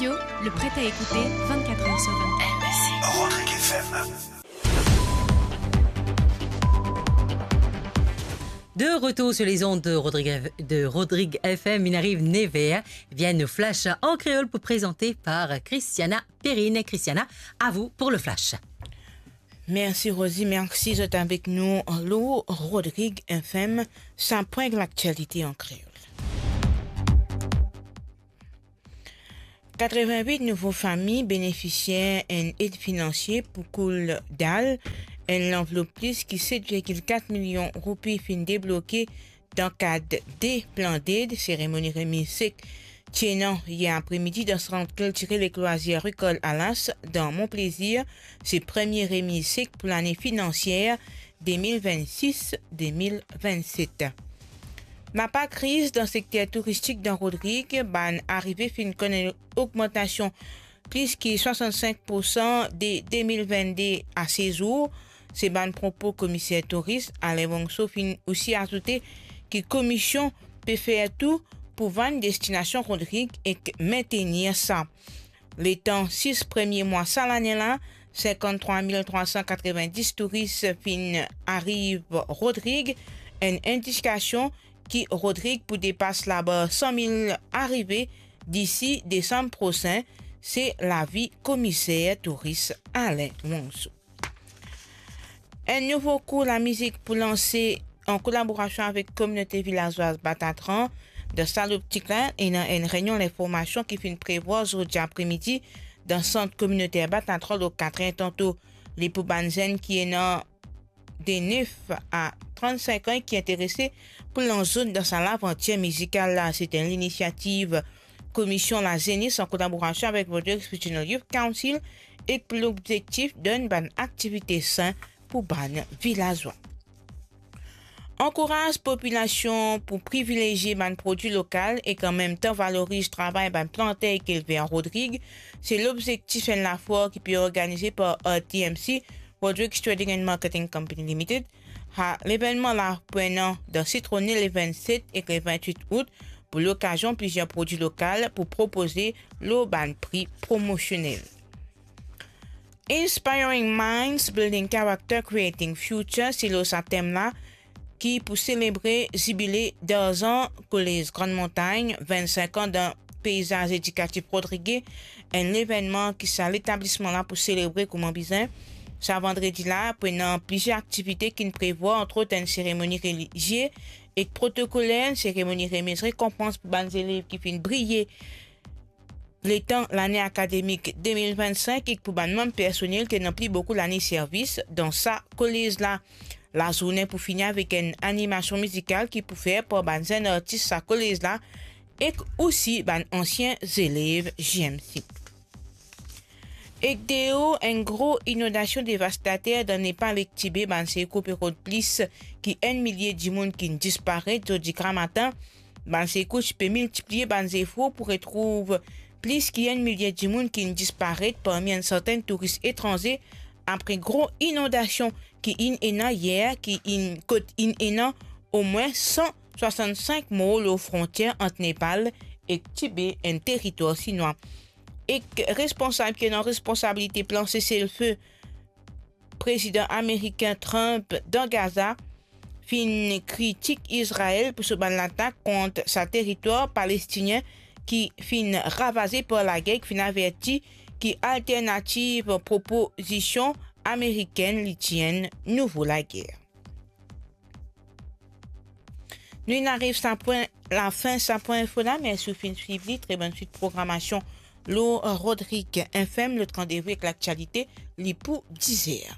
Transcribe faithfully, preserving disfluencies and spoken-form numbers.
Le prêt à écouter vingt-quatre heures sur vingt-quatre. Rodrigue F M. De retour sur les ondes de Rodrigue, de Rodrigue F M, il arrive neuf heures. Vient nos flash en créole pour présenter par Christiana Perrine. Christiana, à vous pour le flash. Mersi Rosie, mersi zot avek nou lor Rodrigue F M, sa pwin laktialite an kreol. Katrevin-wit nouvo fami benefisier enn ed finansie pou koul dal. Enn lanvlop plis ki set virgil kat milion roupi finn debloke dan kad de plan ded. Seremoni remiz sek ti ena yer apremidi dan sant kiltirel ek lwazir Ricole Halas dan Mont Plaisir. Se premie remiz sek pou lane finansier de mil vennsis de mil vennset. Napa kriz dan sekter touristik dan Rodrig, bann arive finn konn enn ogmantasion plis ki swasannsink poursan de de mil vennde a sezour. Se bann propo Komiser Touris Alain Wongso finn osi azoute ki komisyon pe fer tou pou vann destinasion Rodrig ek mentenir sa. Letan sis premie mwa sa lane la, sinkanntrwa mil trwa san katrevin-dis touris finn ariv Rodrig, enn indikasion ki Rodrig pou depas labar san mil arive disi desam prosin, se lavi Komiser Touris Alain Wongso. Enn nouvo kour lamizik pou lanse an kolaborasion avek kominote vilazwaz Batatran. Dan sa loptik la, ena enn reynion linformasion ki finn prevwar zordi apremidi dan sant kominoter Batatran lor katrin tanto. Li pou bann zenn ki ena de nef a trannsink an ki interese pou lans zot dan sa lavantir mizikal la. Se enn linisiativ Komisyon Lazenes an kolaborasion avek Rodrigues Regional Youth Council ek pou lobzektif donn bann aktivite sin pou bann vilazwa. Ankouraz popilasion pou privilezie bann prodwi lokal ek anmemtan valoriz travay bann planter ek elver Rodrig, se lobzektif enn lafoir ki pe organize par R T M C, Rodrigues Trading and Marketing Company Limited. Ha, levennman la pou enn an dan Citrone le vennset ek le vennwit out pou lokazion plizier prodwi lokal pou propoze lor bann pri promosionel. Inspiring Minds, Building Character, Creating Future, se lor sa tem la ki pou selebre zibile darzan Kolez Grann Montagn, vennsink an dan peizaz edikatif Rodrig, enn levennman ki sa letablisman la pou selebre kouma bizin. Sa vandredi la, pou ena plizier aktivite ki'nn prevwar, antrot enn seremoni relizie ek protokoler, enn seremoni remiz rekonpans pou bann zelev ki finn briye letan lane akademik de mil vennsink ek pou bann manm personel ki ena pli boukou lane servis dan sa kolez la. Lazourne pou fini avek enn animasion mizikal ki pou fer par bann zenn artis sa kolez la ek osi bann ansien zelev J M C. Ek deo, enn gro inondasion devastater dan Nepal ek Tibe, bann sekour pe rod plis ki enn milie dimoun ki'nn disparet. Zordi gramatin, bann sekour ti pe miltipliye bann zefor pou retrouv plis ki enn milie dimoun ki'nn disparet, parmi enn sartenn touris etranze, apre gro inondasion ki inn ena yer, ki inn, kot inn ena omwin san swasannsink mor lor frontier ant Nepal ek Tibe, enn teritwar sinwa. Ek responsab ki ena responsabilite plan sesel-fe Prezidan Ameriken Trump dan Gaza finn kritik Izrael pou so bann latak kont sa teritwar palestinien ki finn ravaze par lager, ki finn averti ki alternativ propozision amerikenn li ti enn nouvo lager. Nou inn ariv sa pwin, lafin sa pwin info la. Mersi ou finn swiv li. Tre bonn swit programasion lor Rodrig F M. Lot randevou ek laktialite, li pou diz er.